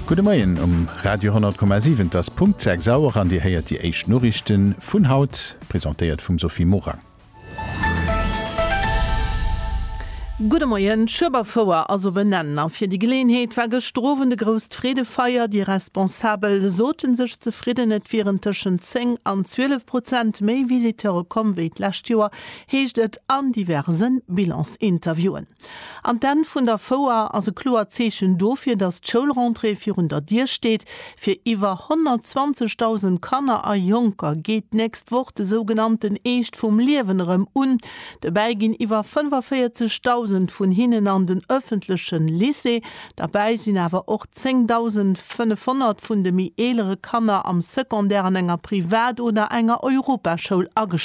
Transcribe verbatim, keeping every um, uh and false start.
Gudde Moien um Radio honnert Komma siwen. Et ass Punkt sechs Auer an Dir héiert déi éischt Noriichten vun haut, presentéiert vum Sophie Morang. Gudde Moien, D'Schueberfouer ass op en Enn a fir déi Geleeënheet war gëschter Owend e grousst Freedefeier. Déi Responsabel sote sech zefridden, et wieren tëschent zéng an zwielef Prozent méi Visiteure komm wéi d'lescht Joer, heescht et an diverse Bilansinterviewen. An d'Enn vun der Fouer ass e kloert Zeechen dofir, datt d'Schoulrentrée virun der Dier steet. Fir iwwer honnertzwanzegdausend Kanner a Jonker geet d'nächst Woch de sougenannten Eescht vum Liewen erëm un. Dobäi ginn iwwer fënnefavierzeghdausend vun hinnen an den ëffentleche Lycée. Derbäi sinn awer och zéngdausendfënnefhonnert vun de méi eelere Kanner am Secondaire an enger Privat oder enger Europaschoul ageschriwwen.